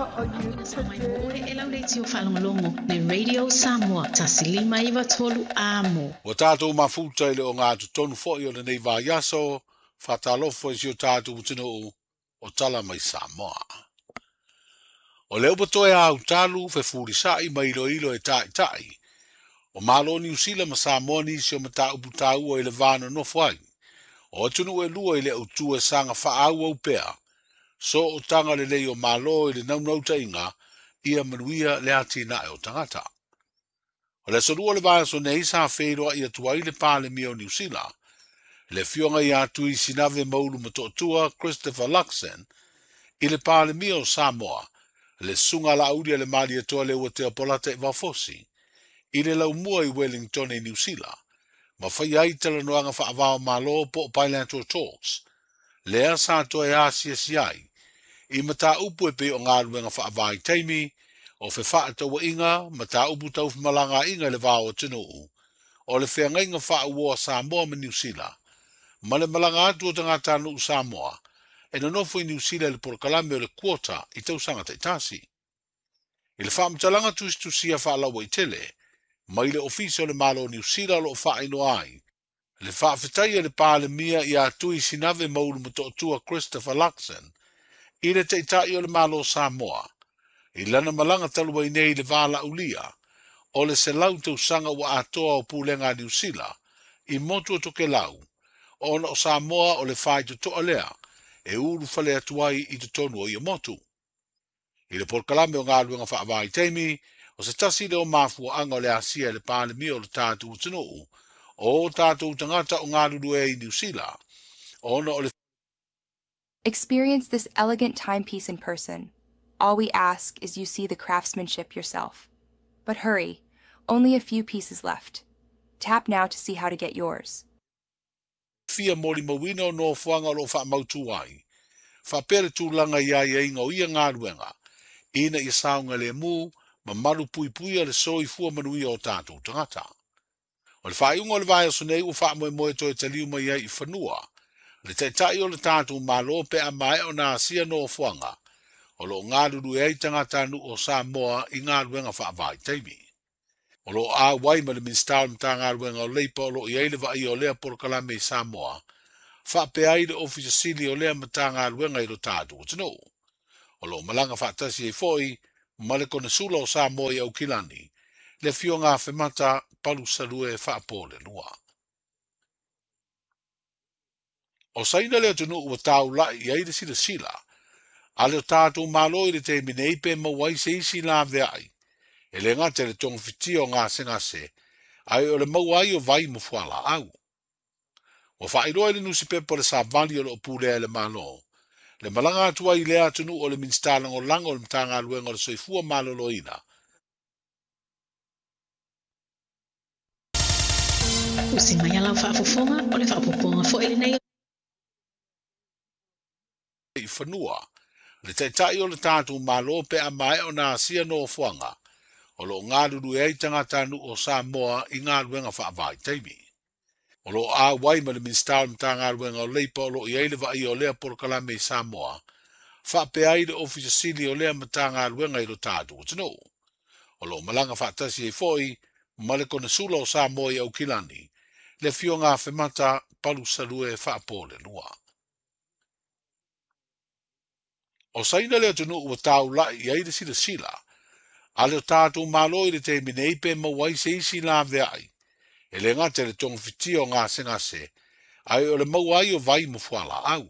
How are you Sa mai today? mo oe e lau leitio faalogologo le Radio Samoa 1593 Amo. Ua tatou mafuta i le ogatotonu foi o lenei vaiaso, faatalofa i si o tatou atunuu o tala mai Samoa. O lea ua toe autalu fefulisa'i ma iloilo e ta'ita'i o Malo o Niusila ma Samoa nisi o mataupu taua i le va nonofo ai o atunuu e lua i le autū e saga faaauau pea sootaga lelei o Malo i le naunautaiga ia manuia le atinae o tagata. O le aso lua o le vaiaso nei sa feiloai atu ai le Palemia o Niusila, le afioga ia Tui Sinave Maulu Motootua Christopher Luxon, i le Palemia o Samoa, le Susuga Laauli a le Malietoa Leuatea Polataivao Fosi, i le laumua i Wellington i Niusila, ma faia ai talanoaga faava-o-Malo po o bilateral talks, lea sa toe asiasi ai i mataupu e pei o galuega faavaitaimi, o fefaatauaiga, mataupu tau femalagaaiga i le va o atunuu, o le feagaiga faauoa Samoa ma Niusila, ma le malaga atu o tagatanuu Samoa e nonofo i Niusila i le polokalame o le quota i tausaga taitasi. I le faamatalaga tusitusia faalauaitele mai le Ofisa o le Malo o Niusila o lo o faailoa ai le faafetai a le Palemia ia Tui Sinave Maulu Motootua Christopher Luxon i le Taitai o le Malo o Samoa i lana malaga talu ai nei i le valaaulia o le 100 tausaga ua atoa o pulega a Niusila i motu o Tokelau, ona o Samoa o le faitotoa lea e ulufale atu ai i totonu o ia motu. I le polokalame o galuega faavaitaimi, o se tasi lea o mafuaaga o le asia e le Palemia o le tatou atunuu o tatou tagata o galulue ai i Niusila, ona o le Experience this elegant timepiece in person. All we ask is you see the craftsmanship yourself. But hurry, only a few pieces left. Tap now to see how to get yours. fia molimauina o nofoaga o lo o faamautū ai, faapea le tulaga i aiaiga o ia galuega, ina ia saogalemu ma malupuipuia le soifua manuia o tatou tagata. O le faaiuga o le vaiaso nei ua faamoemoe toe taliu mai ai i fanua le Taitai o le tatou Malo pe a maea ona asia nofoaga o lo o galulue ai tagatanuu o Samoa i galuega faavaitaimi. O lo o auai ma le Minisita o le Matagaluega o Leipa o lo o i ai le vaaia o lea polokalame i Samoa, faapea ai le Ofisa Sili o lea Matagaluega i lo tatou atunuu. O lo o malaga faatasi ai foi ma le Konesula o Samoa i Aukilani, le afioga Afemata Palusalue Faapolelua. O Saina le atunuu ua taulai i ai le silasila a le tatou Malo i le taimi nei pe maua ai se isi laveai, e le gata i le togafitia o gasegase, ae o le maua ai o vai ma fualaau. Ua faailoa i le nusipepa o le Savali o lo o pulea e le Malo, le malaga atu ai i lea atunuu o le Minisita Lagolago o le Matagaluega o le Soifua Maloloina, Usi mai a lau faafofoga, o le faaopoopoga foi lenei. I fanua le Taitai o le tatou Malo pe a maea ona asia nofoaga o lo o galulue ai tagatanuu o Samoa i galuega faavaitaimi. O lo o auai ma le Minisita o le Matagaluega o Leipa o lo o i ai le vaaia o lea polokalame i Samoa, faapea ai le Ofisa Sili o lea Matagaluega i lo tatou atunuu. O lo o malaga faatasi ai foi ma le Konesula o Samoa i Aukilani, le afioga Afemata Palusalue Faapolelua. O Saina le atunuu ua taulai i ai le silasila a le tatou Malo i le taimi nei pe maua ai se isi laveai, e le gata i le togafitia o gasegase, ae o le maua ai o vai ma fualaau.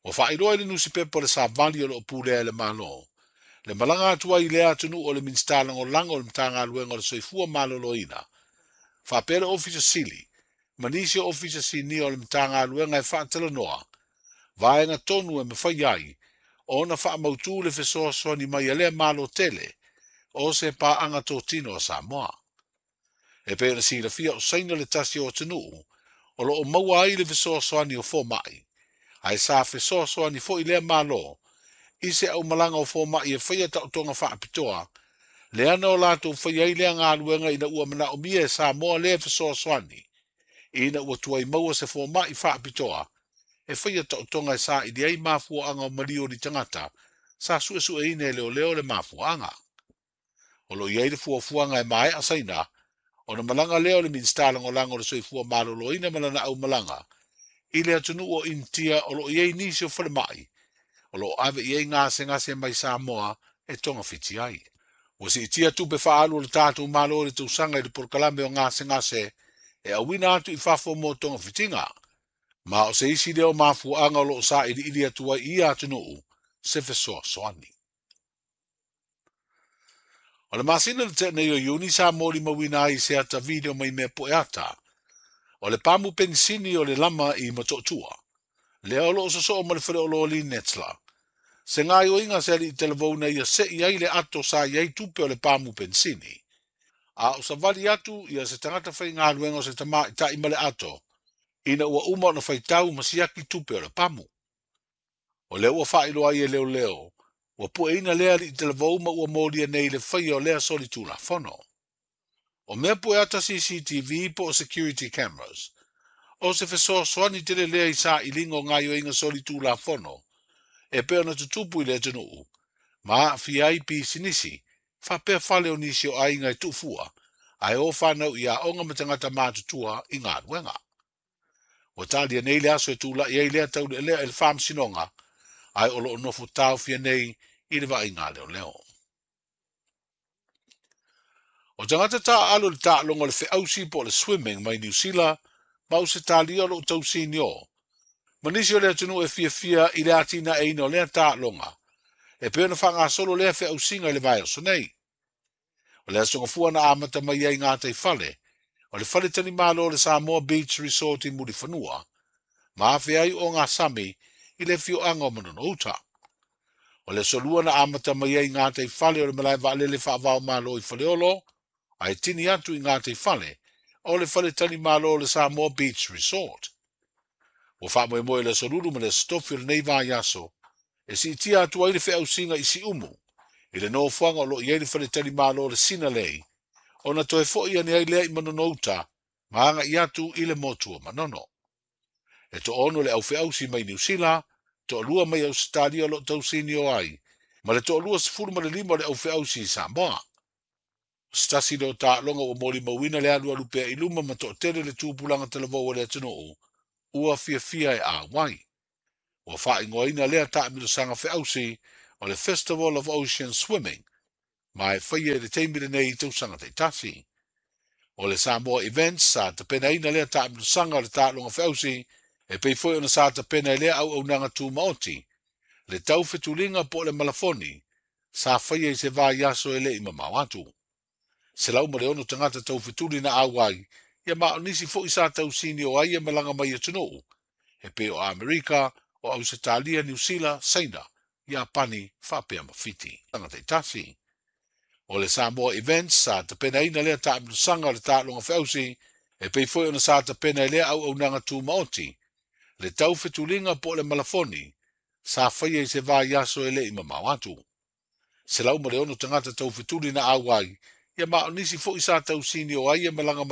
Ua faailoa i le nusipepa o le Savali o lo o pulea e le Malo, le malaga atu ai i lea atunuu o le Minisita Lagolago o le Matagaluega o le Soifua Maloloina, faapea le Ofisa Sili ma nisi o Ofisa Sinia o le Matagaluega e faatalanoa vaega tonu e mafai ai ona faamautū le fesoasoani mai a lea Malo tele o se paaga totino a Samoa. E pei ona silafia o Saina le tasi o atunuu o lo o maua ai le fesoasoani o fomai, ae sa fesoasoani foi lea Malo i se aumalaga o fomai e faia taotoga faapitoa, leana o latou faia ai lea galuega ina ua manaomia e Samoa lea fesoasoani, ina ua tuai maua se fomai faapitoa e faia taotoga e saili ai mafuaaga o maliu o ni tagata sa suesueina e leoleo le mafuaaga. O lo o i ai le fuafuaga e maea Saina ona malaga lea o le Minisita Lagolago o le Soifua Maloloina ma lana aumalaga i le atunuu o Initia o lo o i ai nisi o falemai o lo o ave i ai gasegase mai Samoa e togafiti ai. Ua siitia tupe faaalu a le tatou Malo i le tausaga i le polokalame o gasegase e auina atu i fafo mo togafitiga, ma o se isi lea o mafuaaga o lo o sailiili atu ai i ia atunuu se fesoasoani. O le masina na tea nei o Iuni sa molimauina ai i se ata video mai mea pueata o le pamu penisini o le lama i Motootua, lea o lo o sosoo ma le faleoloa Netla. Se gaoioiga se alii talavou na ia sei ai le ato sa i ai tupe o le pamu penisini. A o savali atu ia se tagata faigaluega o se tamaitai ma le ato, ina ua uma ona faitau ma siaki tupe o le pamu. O lea ua faailoa ai e leoleo, ua pueina lea alii talavou ma ua molia nei le faia o lea solitulafono. O mea pueata CCTV po o security cameras, o se fesoasoani tele lea i sailiga o gaoioiga solitulafono e pei ona tutupu i le atunuu, ma aafia ai pisinisi, faapea fale o nisi o aiga e tuufua, ae o fanau i aoga ma tagata matutua i galuega. Ua talia nei le aso e tulai ai lea taulealea i le faamasinoga, ae o lo o nofo taofia nei i le vaaiga leoleo. O tagata taaalo i le taaloga o le feausi po o le swimming mai Niu Sila ma Ausetalia o lo o tausinio, ma nisi o le atunuu e fiafia i le atinaeina o lea taaloga, e pei ona faagasolo lea feausiga i le vaiaso nei. O le aso Gafua na amata mai ai gataifale o le faletalimalo o le Samoa Beach Resort i Mulifanua, ma afe ai ogasami i le afioaga o Manono-uta. O le aso Lua na amata mai ai gataifale o le malae vaalele faava-o-Malo i Faleolo, ae tini atu i gataifale o le faletalimalo o le Samoa Beach Resort. Ua faamoemoe le aso Lulu ma le aso Tofi o lenei vaiaso e siitia atu ai le feausiga i Siumu i le nofoaga o lo o i ai le faletalimalo o le Sinalei, ona toe foi ane ai lea i Manono-uta ma agai atu i le motu o Manono. E toaono le aufeausi mai Niu Sila, toalua mai Ausetalia o lo o tausinio ai, ma le toalua 15 o le aufeausi i Samoa. O se tasi lea o taaloga ua molimauina le alualu pea i luma ma toatele le tupulaga talavou a le atunuu ua fiafia e auai. Ua faaigoaina lea taamilosaga feausi o le Festival of Ocean Swimming, ma e faia i le taimi lenei i tausaga taitasi. O le Samoa Events sa tapenaina lea taamilosaga o le taaloga feausi e pei foi ona sa tapena i lea auaunaga tumaoti, le taufetuliga po o le malafoni sa faia i se vaiaso e le i mamao atu. 106 tagata taufetuli na auai, ia ma o nisi foi sa tausinio ai e malaga mai atunuu, e pei o Amerika, o Ausetalia, Niu Sila, Saina, Iapani, faapea ma Fiti. Taitasi. O le Samoa Events sa tapenaina lea taamilosaga o le taaloga feausi e pei foi ona sa tapena i lea auaunaga tumaoti, le taufetuliga po o le malafoni sa faia i se vaiaso e le i mamao atu. 106 tagata taufetuli na auai, ia ma o nisi foi sa tausinio ai e malaga mai.